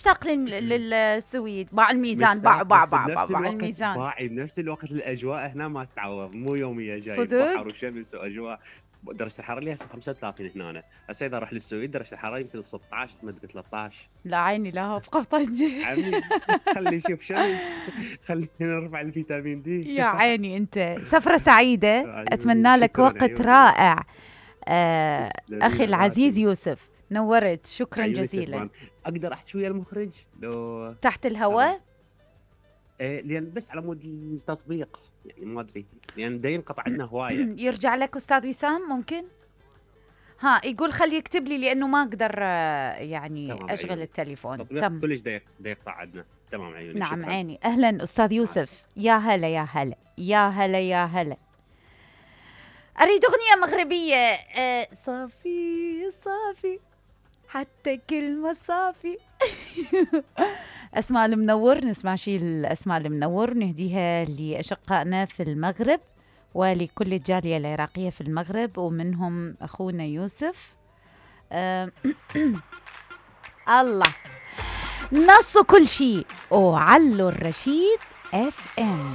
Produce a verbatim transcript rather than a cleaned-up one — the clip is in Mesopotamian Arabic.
مشتاق للسويد. باع الميزان، باع باع باع باع الميزان. باعي بنفس الوقت الاجواء هنا ما تتعوض، مو يوميه جاي صدق؟ بحر وشمس واجواء. درجه الحراره اللي هسه خمسة وثلاثين هنا، هسه اذا اروح للسويد درجه الحراره يمكن ستة عشر ما ادري ثلاثة عشر. لا عيني لها ابقى طنجه. عمي خلي يشوف شمس، خلينا نرفع الفيتامين دي. يا عيني انت. سفره سعيده، اتمنى لك وقت رائع. آه اخي العزيز يوسف، نورت، شكرا جزيلا. اقدر احكي ويا المخرج لو تحت الهواء؟ ايه لان بس على مود التطبيق يعني ما ادري، لان دا ينقطع عندنا هوايه. يرجع لك استاذ وسام ممكن؟ ها يقول خلي يكتب لي لانه ما اقدر يعني اشغل عيوني. التليفون تم كلش دا يقطع عندنا. تمام عيوني. نعم شكرا. عيني. اهلا استاذ يوسف. يا هلا يا هلا يا هلا يا هلا. اريد اغنيه مغربيه. أه صافي صافي حتى كلمه صافي. اسماء المنور، نسمع شي الاسماء المنور نهديها لاشقائنا في المغرب ولكل الجاليه العراقيه في المغرب، ومنهم اخونا يوسف. أه الله نص كل شيء وعلو الرشيد اف ام.